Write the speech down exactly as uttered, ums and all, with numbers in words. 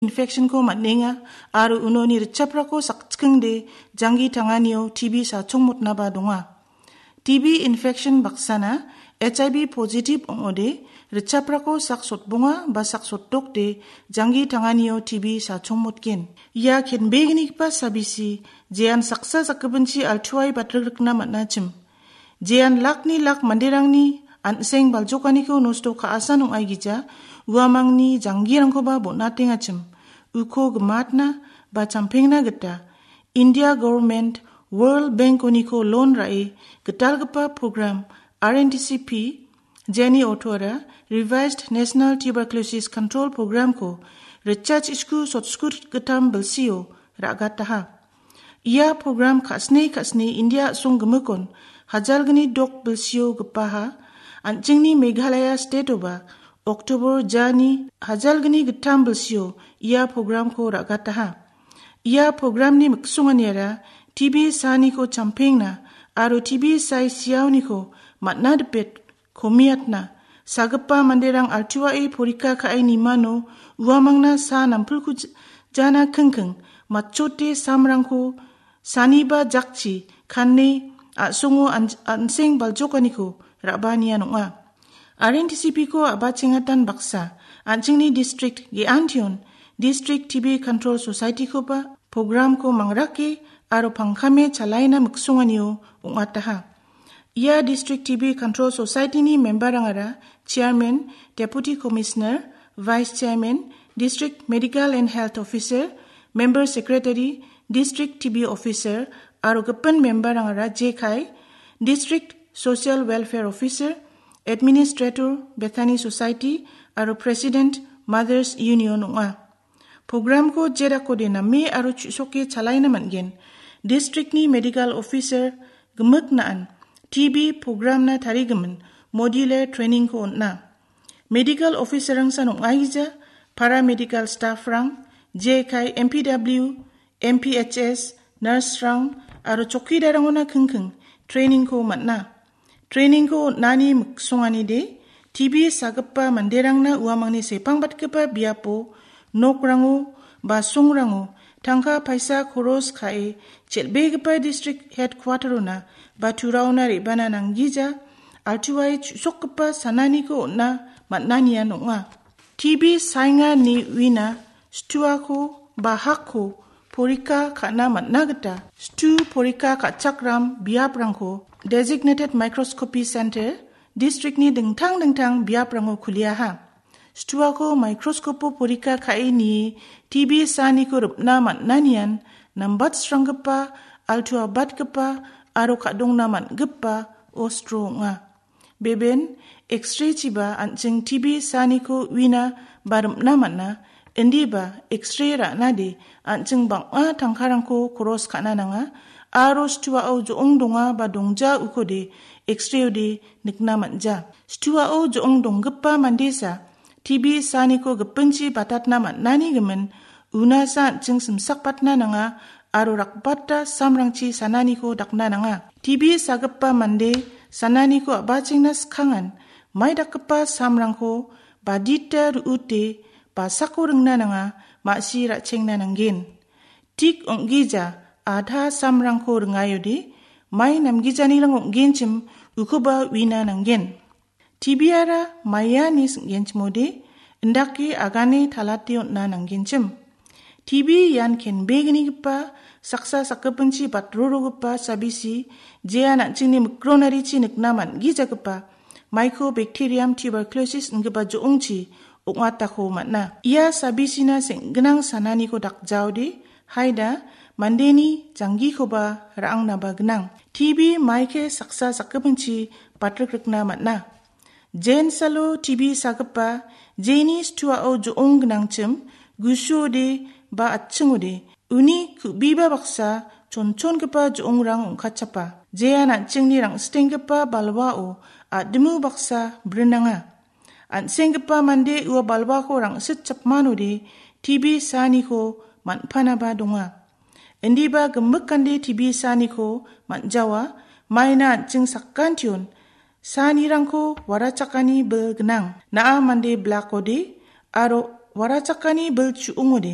infection-ko man·enga aro unoni ritchaprako sakchikingde janggi tanganio T B sachongmotnaba donga. T B infection baksana H I V positive ong·ode ritchaprako sak sotbonga ba sak sotdokde janggi tanganio T B sachongmotgen. Ia kenbegnigipa sabisi jean saksa sakgipinchi altuai batrikna man·achim. Jean lakni lak manderangni an·seng baljokaniko nosto ka·asan ong·aigija uamangni janggirangkoba bon·atengachim. Uko gimatna ba champengna gita India Government World Bank-oniko loan ra·e gitalgipa program R N D C P Jenny Otora Revised National Tuberculosis Control Program-ko ritchasku sotskut gitam bilsio ra·gataha. Ia program ka·sni ka·sni India a·song gimikon hajalgni dok bilsio gipaha, an·chingni Meghalaya state-oba October jani hajalgni gittam bilsio ia program-ko ra·gataha. Ia program-ni miksonganiara T B saaniko champengna aro T B sai siaoniko man·a dipet komiatna. Sagipa manderang altuae porika ka·e nimano uamangna sa nampilku j-, jana kingking matchote samrangko saniba jakchi kane a·songo an-, an·seng baljokaniko ra·banian ong·a. R N D C P-ko a·bachengatan baksa, an·chingni district ge·antion District T B Control Society-koba program-ko mangrake aro pangkame chalaina miksonganio ong·ataha. Ia District T B Control Society-ni member-rangara Chairman, Deputy Commissioner, Vice Chairman, District Medical and Health Officer, Member Secretary, District T B Officer, aro gipin member-rangara jekai, District Social Welfare Officer, Administrator, Bethany Society, aro President, Mothers Union ong·a. Program-ko jedakode name aro chu·soke chalaina man·gen. District-ni medical officer gimik na·an T B program-na tarigimin modular training-ko on·a. Medical officer-rangsan ong·aija, paramedical staff-rang, jekai M P W, M P H S, nurse-rang aro chokkidarangona kingking training-ko man·a. Training-ko on·ani miksonganide, T B sagipa manderangna uamangni sepangbatgipa biapo, nokrango, basongrango, tangka paisa koros ka·e, chel·begipa district headquarter-ona ba turaona re·bana nanggija, altuae chu·sokgipa sananiko on·a man·anian ong·a. T B saenga ine uina situako ba hakko porika ka·na man·a gita situ porika ka·chakram biaprangko Designated Microscopy Center district-ni dingtang dingtang biaprango kuliaha. Situako microscope-o porika ka·e nie T B saaniko ripna man·anian nambatsranggipa, altua batgipa aro ka·dongna man·gipa ostro ong·a. Beben, X-ray-chiba an·ching T B saaniko uina ba rimna man·a, indiba X-ray ra·nade an·ching bang·a tangkarangko koros ka·na nanga, aro situao jo·ong donga ba dongja ukode X-ray-ode nikna man·ja. Situao jo·ong donggipa mandesa T B saaniko gipinchi batatna man·ani gimin, unasa an·ching simsakpatna nanga aro rakbata samrangchi sananiko dakna nanga. T B sagipa mande sananiko a·bachengna skangan, mai dakgipa samrangko badita ru·ute basako ringna nanga, ma·si ra·chengna nanggen. Tik ong·gija adha samrangko ringayode, mai namgijanirang ong·genchim ukoba uina nanggen. T B-ara maiani sing·genchimode, indake agane talate on·na nanggenchim. T B ian kenbegnigipa, saksa sakgipinchi batrorogipa sabisi, jean an·chingni mikronarichi nikna man·gijagipa, Mycobacterium tuberculosis ingipa jo·ongchi ong·atako man·a. Ia sabisina seng·gnang sananiko dakjaode, haida mandeni janggikoba ra·angnaba gnang. T B maike saksa sakgipinchi batrikrikna man·a. Jensalo T B sagipa jeni situao jo·ong gnangchim, gusuode ba atchingode, uni ku·biba baksa chonchongipa jo·ongrang ong·katchapa. Jean an·chingni rang·sitenggipa balwao a·dimo baksa brinanga. An·senggipa mande ua balwako rang·sitchapmanode T B saaniko man·panaba donga. Indiba gimik ande T B saaniko man·jawa, maina an·ching sakantion saanirangko warachakani bil gnang. Na·a mande blakode aro warachakani bil chu·ongode.